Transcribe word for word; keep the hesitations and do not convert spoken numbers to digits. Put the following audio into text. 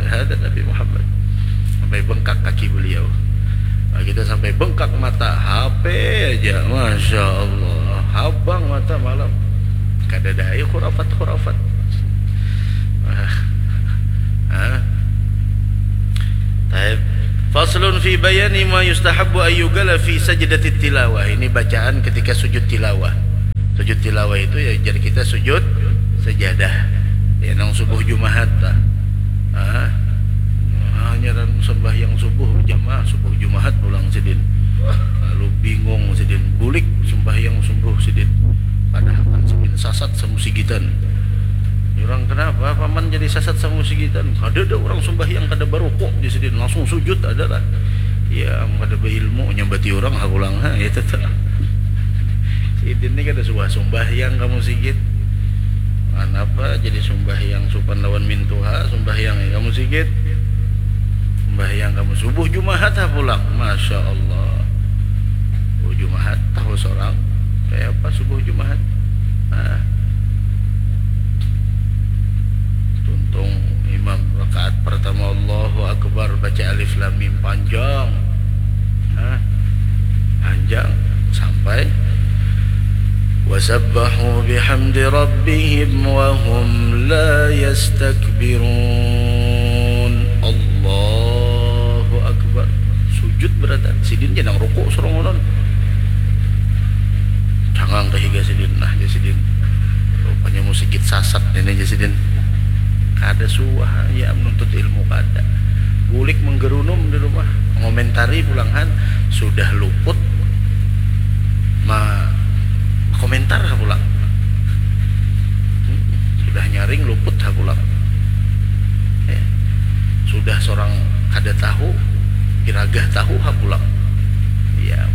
Ada Nabi Muhammad. Sampai bengkak kaki beliau. Nah, kita sampai bengkak mata, H P aja, Masya Allah. Habang mata malam. Kada ada ayo khurafat-khurafat. Ah. Ah. Taib. Faslun fi bayani ma yustahabbu ayyugala fi sajdatit tilawah. Ini bacaan ketika sujud tilawah. Sujud tilawah itu ya, jadi kita sujud sajadah. Ya, nang subuh Jumahat lah. Ah. Hanya dan sembahyang subuh jamaah, subuh Jumahat pulang sidin. Lalu bingung sidin, bulik sembahyang subuh sidin. Padahal kan sidin sasat samusigitan. Orang kenapa paman jadi sasat samusigitan? Kada ada orang sembahyang kada barukuk di sidin, langsung sujud ada lah. Ya, kada beilmu nyambati orang ha pulang ha, itu tuh. Sidin ni kada suah sumbahyang kamu sigit. Kenapa jadi sumbahyang supan lawan mintuha, sumbahyang kamu sigit. Sumbahyang kamu subuh Jumahat ha pulang. Masya Allah. Subuh Jumahat tahu seorang. Kayak apa subuh Jumahat? Nah. Tuntung imam rakaat pertama Allahu Akbar, baca alif lam mim panjang. Nah, panjang sampai wasabbahu bihamdi rabbihim wa hum la yastakbirun. Allahu Akbar. Sujud beratan. Sidin je nang ruku surongonon. Cangang ke higa sidin. Nah, je sidin. Rupanya musigit sasat ini je sidin. Kada suah ya menuntut ilmu kada. Bulik menggerunum di rumah. Mengomentari pulang han. Sudah luput. Ma komentar ha pulang. Sudah nyaring luput ha pulang. Ya. Sudah seorang kada tahu, iragah tahu ha pulang. Ya,